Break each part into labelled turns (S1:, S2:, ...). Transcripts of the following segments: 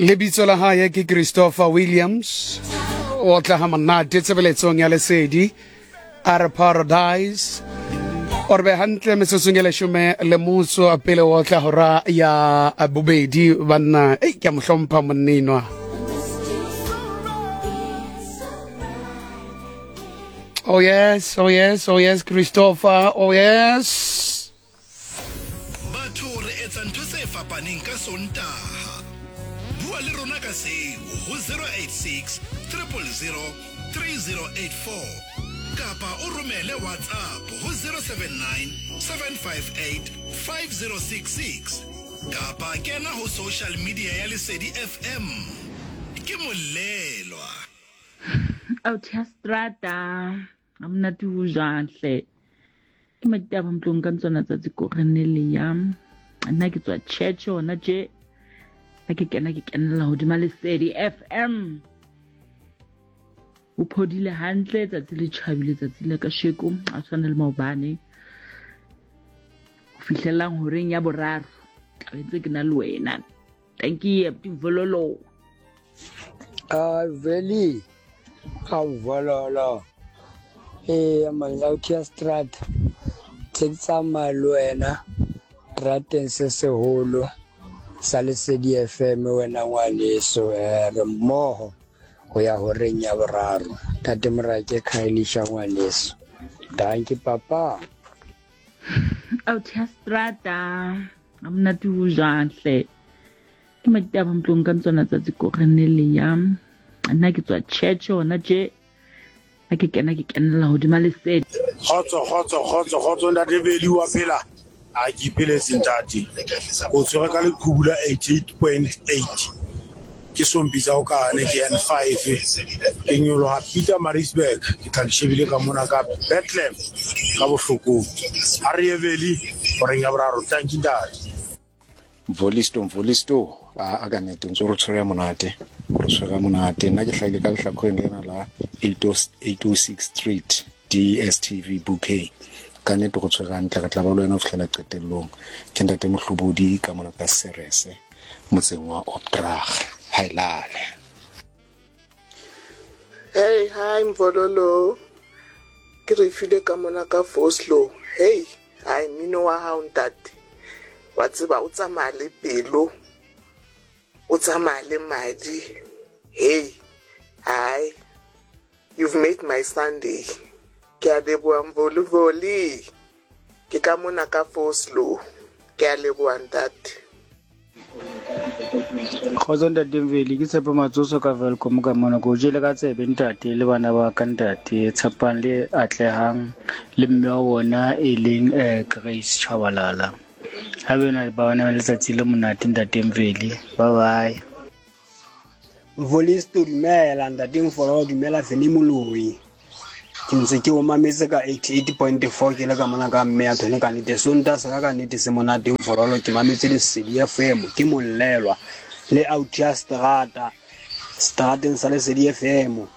S1: Lebitso la hae ke Christopher Williams. O tla ha monate tshebeletsong ya lesedi a re Paradise. O re be hantle metsotsong e leshome le motso pele o tla hora ya bobedi banna. Ei, ke a mo hlompha monnenwa. Oh yes, oh yes, oh yes, Christopher, oh yes.
S2: Batho re etsa ntho tse fapaneng ka Sontaha. Bua le rona ka seo ho 086 000 3084 kapa o romele WhatsApp ho 079 758 5066 kapa kena ho social media ya Lesedi FM. Ke Molelwa.
S3: Out ya strata ga monate o jang hle ke maditaba mtlong ka ntsona tsatsi ko re ne le ya nna ke tswa church hona tje ha ke kena ke kenela hodima lesedi fm o phodile hantle tsatsi le tjhabile tsatsi la kasheko a tshwana le maobane ho fihlelang horeng ya boraro tlabe ntse ke na le wena. Thank you, Vololo.
S4: Ah, veli a vololo ee manautia strat tse ke tsamaya le wena trateng se seholo sa lesedi fm wena ngwaneso um re mmoho go ya horeng ya boraro tate morake khaelisha ngwaneso danki papa.
S3: Out ya strata ga monate o jang hle ke maditaba mtlong ka ntsona tsatsi ko re ne le ya nna ke tswa church hona tje ha ke kena ke kenela hodima lesedi.
S5: Kgotso kgotso kgotso kgotso ntate Beli wa phela a ke ipheletse ntate o tshwere ka leqhubu la 88.8 ke sompitsa o kane ke N5 ke nyoloha Peter Maritzburg ke tla ke shebile ka mona ka Bethlehem ka bohlokong ha re ye Veli horeng ya boraro tanki ntate.
S6: Mvolisto Mvolisto a ka nnete ntse re tshwere monate re tshwere monate nna ke hlahile ka lehlakoreng lena la 806 Street DSTV bouquet ka nnete go tshwere hantle re tla ba le wena ho fihlela qetellong ke ntate Mohlobodi ka mona ka Serese motseng wa Opdrag haelale.
S7: Hey, hi Mvololo. Ke re file ka mona ka Vosloo. Hey, hai mmino wa hao ntate. Wa tseba o tsamaya le pelo. O tsamaya le madi. Hey, hai. You've made my Sunday. Ke a leboha Mvoli Voli. Ke ka mona ka Vosloo. Ke a leboha ntate.
S8: Kgotso ntate Mveli, ke Tshepo Matsoso ka Welkom ka mona. Ke o jele ka tsebe ntate le bana ba ka ntate Tshepang le Atlehang le mme wa bona e leng eh, Grace Chabalala. Ha bena ba bana letsatsi le monate ntate Mveli. Bye bye.
S4: Mvolisto dumela ntate Mfolo dumela Feli Moloi ke ntse ke o mametse ka 88.4 ke le ka mona ka mme ya thone ka nnete sonta sa ka ka nnete se monate Mfololo ke mametse Lesedi FM ke mollelwa le out ya strata strateng sa Lesedi FM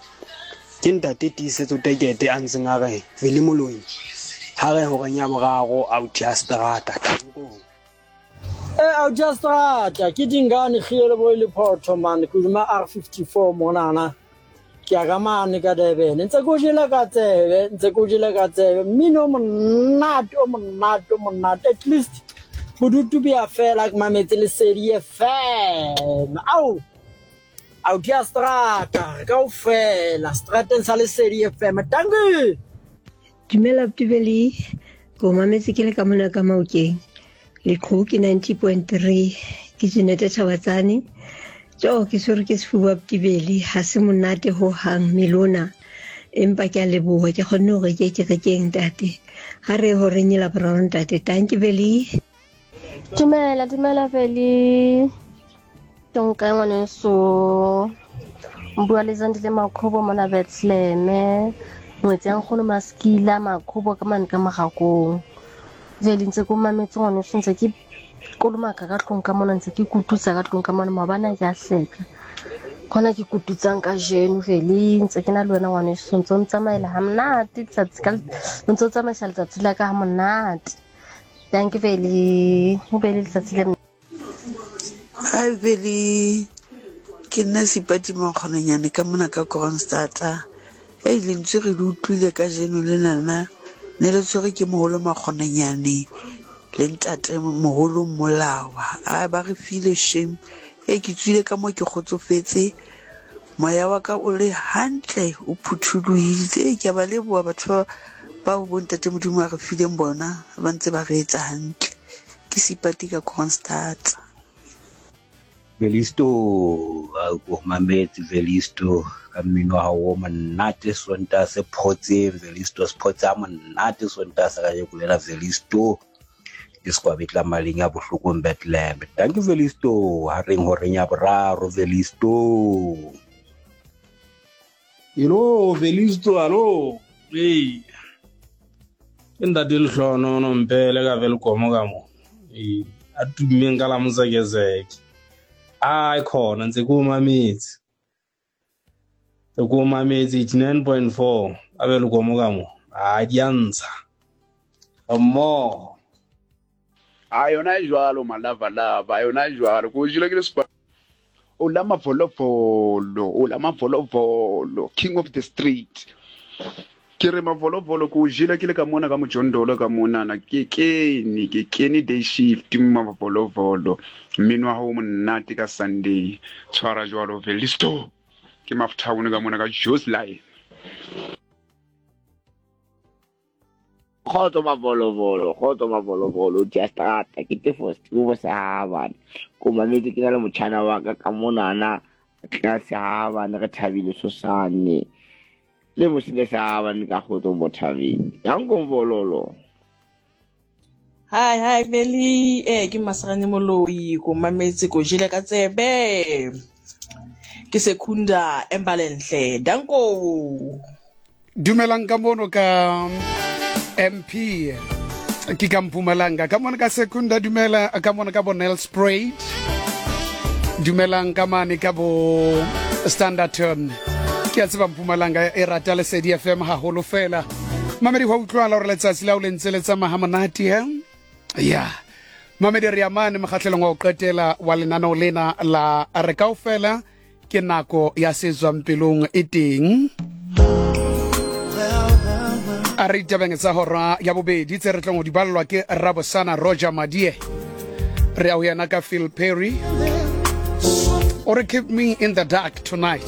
S4: ke ntate Tiisetso Tekete a ntseng a re Feli Moloi ha re horeng ya boraro out ya strata tanko.
S9: Eh, au just rata ke dingane kgile bo le photho man ke duma R54 monana ke ya ka mane ka Durban ntse ko jela ka tsebe ntse ko jela ka tsebe mmino o monate o monate o monate at least bodutu bo ya fela ke mametse lesedi FM au au ke ya strata re kaofela strateng sa lesedi FM dankie.
S10: Dumela Btubeli, ke o mametse ke le ka mona ka Maokeng. Leqhubu ke 90.3, ke Jeanette Chabatsane. Jo, ke tshwerwe ke sefuba Btubeli, ha se monate ho hang mmele ona. Empa ke a leboha, ke kgonne hore ke kerekeng ntate. Ha re horeng e laboraro ntate. Tanki Beli.
S11: Dumela, dumela Veli. Ke nka ngwaneso. Bua le Zandile Makhobo mona Bethlehem. Ngwetsi ya nkgono Maskila Makhobo ka mane ka Morakong. Veli ntse ke o mametse ngwaneso ntse ke kolomaka ka tlong ka mona ntse ke kututsa ka tlong ka mona maobane ke a hleka. Khona ke kututsang kajeno Veli ntse ke na le wena ngwaneso ntse o ntsamaela ha monate letsatsi ka ntse o tsamaisa letsatsi la ka ha monate. Dankie Veli. O be le letsatsi le
S12: Hi Veli. Ke nna Seipati Makgononyane ka mona ka Kroonstad. Hei, lentswe re le utlwile kajeno lenana, ne le tshwerwe ke moholo Makgononyane le ntate moholo Mmolawa. Ai, ba re file shame. Hei, ke tswile ka mo ke kgotsofetse, moya wa ka o le hantle, o phuthulohile. Hei, ke a ba leboha batho ba bao bo ntate Modimo a re fileng bona, ba ntse ba re etsa hantle. Ke Seipati ka Kroonstad.
S13: Velisto o mametse Velisto ka mmino wa hao o monate Sontaha se photseng Velisto se photse ha monate Sontaha sa kajeko lena Velisto ke sekwabetla maleng ya bohlokong Bethlehem. Thank you Velisto ha reng horeng ya boraro Velisto.
S14: Hello Velisto alo ee ke ntate Lehlohonono Mpele ka Welkom ka mo ee a tummeng ka la Mosekezeke ai khona ntse ke o mametse ke o mametse 89.4 ka Welkom ka mo a di a ntsha mmogo
S15: A yona e jwalo malavalava, a yona e jwalo. Ko jele ke le spa. O la mavolovolo, o la mavolovolo, king of the street. Ke re mavolovolo ko jele ke le ka mona ka mojondolo ka monana ke kene ke kene day shift mavolovolo. Mmino wa hao o monate ka Sunday. Tshwara jwalo Velisto. Ke Maftown ka mona ka Joe's Line.
S16: Kgotso mavolovolo, kgotso mavolovolo, dia strata, ke tefo Steve Sehabane. Ko mametse ke na le motjhana wa ka ka monana ka Sehabane re thabile sosane. Le mosile Sehabane ka kgotso mo thabile. Danko mvololo.
S17: Hi, hi, Veli. Eh, ke Masarane Moloi, ko mametse ko jele ka tsebe. Ke Sekunda Embalenhle. Danko.
S1: Dumelang ka mono ka MP ke ka Mpumalanga ka mono ka Sekunda dumela ka mono ka bo Nelspruit dumelang ka mane ka bo Standerton ke a tseba Mpumalanga e rata Lesedi FM haholo fela mamedi go utlwala gore letsatsi la o le ntse le tsamaya monate he ya mamedi re amane mokgatlhelong wa go qetela wa lenaneo lena la re kaofela ke nako ya se tswang pelong e teng a re ditabeng tsa hora ya bobedi tse re tlong go di balelwa ke rabosana Roger Madie re ya go yena ka Phil Perry o re keep me in the dark tonight.